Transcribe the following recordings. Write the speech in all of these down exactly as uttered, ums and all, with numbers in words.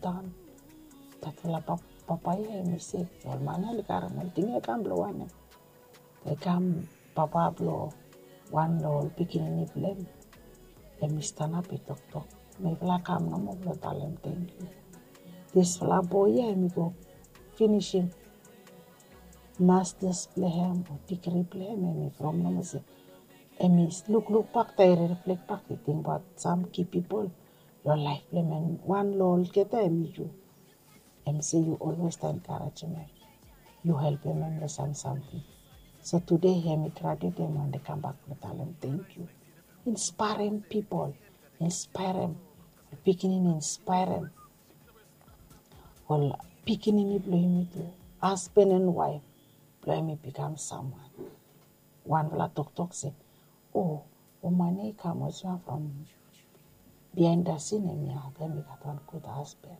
daon. Datfala papa ya hemi sek. Ol man ya oli karem ol ting ya i kam blong wanem? I kam papa blong wan long ol pikinini blong hem. Hemi stanap i toktok, mifala kam nomo blong talem tangkiu. Disfala boe ya hemi go finisim masters blong hem o digri blong hem. Hemi from nomo se hemi lukluk bak, taem i riflek bak, i tingbaot sam ki pipol long laef blong hem. Wan long olgeta hemi yu. Hem se yu olwes enkarejem hem, yu helpem hem long sam samting. So tude hemi graduet, hem wantem kambak blong talem tangkiu. Inspaerem pipol, inspaerem pikinini, inspaerem ol pikinini blong yumi tu, hasben and waef blong yumi bikam samwan. Wanfala toktok se, o, woman ya i kam olsem ya from biaen dasin, hemi harem, i gat wan gud hasben.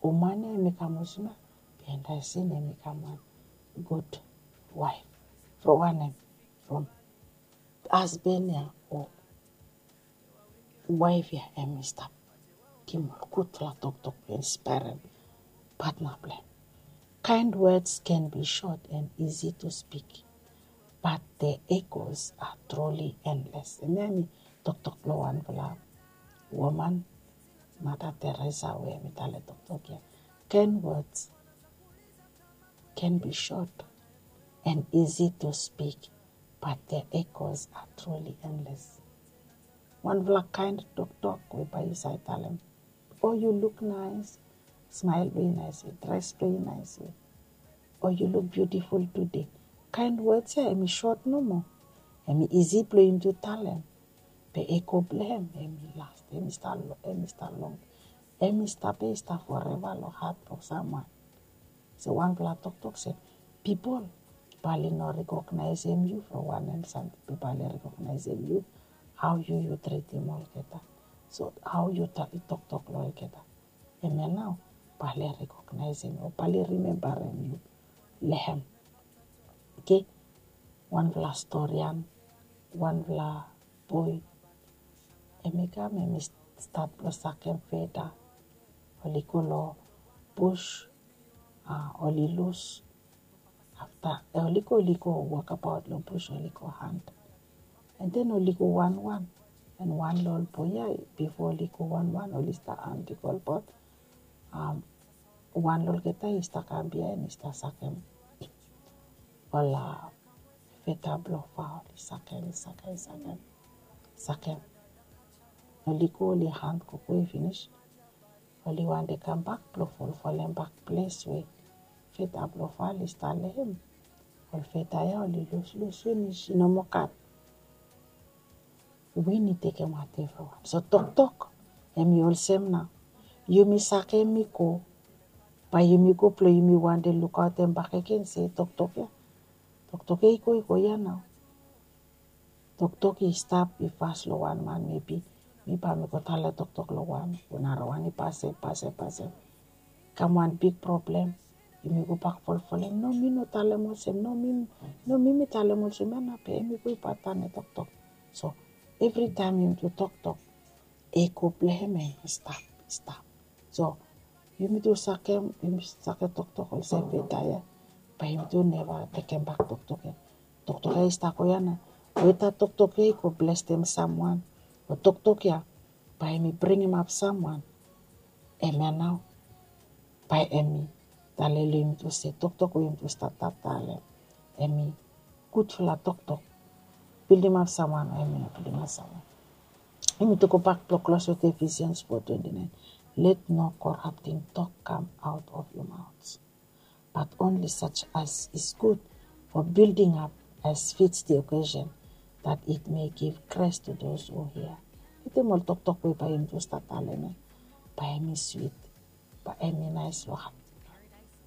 Woman ya hemi kam olsem ya biaen dasin, hemi kam wan gud waef. From wanem? From hasben ya o waef ya hemi stap givim ol gudfala toktok blong inspaerem patna blong hem. Kind words can be short and easy to speak, but their echoes are truly endless. Hemia hemi toktok blong wanfala woman, Mother Teresa, we hemi talem toktok ya. Kind words can be short and easy to speak, but their echoes are truly endless. Wanfala kaen toktok we bae yu save talem, "Oh, you look nice." Smael blong yu naes we, dres blong yu naes we. "Oh, you look beautiful today." Kaen wod ya hemi sot nomo. Hemi isi blong yumi tu talem. Be eko blong hem hemi las, hemi stap long, hemi stap long, hemi stap ya, i stap foreva long hat blong samwan. So wanfala toktok se, pipol bae oli no rekognaesem yu from wanem samting, be bae oli rekognaesem yu hao yu, yu tritim olgeta. So hao yu toktok long olgeta, hemia nao bae oli rekognaesem yu o bae oli rimembarem yu long hem. Oke, wanfala storian, wanfala boe, hemi kam, hemi stat blong sakem feda. Oli go long bus, a, oli lus. Afta, e, oli go, oli go wokabaot long bus, oli go hant. And then oli go wanwan. And wan long ol boe ya, bifo oli go wanwan, oli stap hant i go olbaot. Am, wan long olgeta i stap kam biaen, i stap sakem ol, a, feda blong fa, oli sakem, sakem, sakem, sakem. Oli go, oli hant gogo i finis. Oli wantem kambak blong folfolem bak ples we feda blong fa oli stap long hem. Ol feda ya oli luslus finis, i no moa gat. Win i tekem watem from hem. So toktok hemi olsem nao. Yumi sakem i go, bae yumi go blong yumi wantem lukaotem bakegen se toktok ya, toktok ya i go, i go ya nao. Toktok i stap, i fas long wan man, mebi mi bae mi go talem toktok long wan, o narawan i pasem, pasem, pasem. Kam wan big problem. Yumi go bak folfolem, no, mi no talem olsem, no, mi, no, mi, mi talem olsem ya nao, be hemi go i bae talem toktok. So evritaem yumi tu toktok, eko blong hem hemi stap, stap. So yumi tu sakem, yumi sakem toktok olsem feda ya, bae yumi tu neva tekem bak toktok ya. Toktok ya i stap go ya nao. Weta toktok ya i go blesem samwan, o toktok ya bae hemi bringim ap samwan, hemia nao bae hemi talem long yumi tu se toktok we yumi tu stap talem, hemi gudfala toktok, bildim ap samwan o hemi no bildim ap samwan. Yumi tu go bak blong klos wetem Ephesians four twenty-nine. Let no corrupting talk come out of your mouths, but only such as is good for building up as fits the occasion, that it may give grace to those who hear. Wetem ol toktok we bae yumi tu stap talem ya, bae hemi swit, bae hemi naes long hat,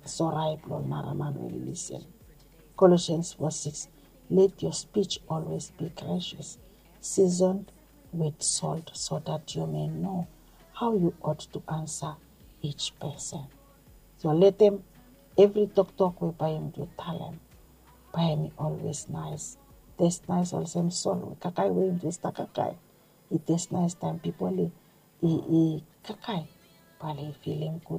sorae blong ol naraman we oli lisin. Colossians four six, let your speech always be gracious, seasoned with salt, so that you may know how you ought to answer each person. So letem evri toktok we bae yumi tu talem, bae hemi always naes. Tes naes olsem sol we kakae we yumi tu stap kakae. I tes naes taem pipol i, i, i kakae, bae oli filim gud,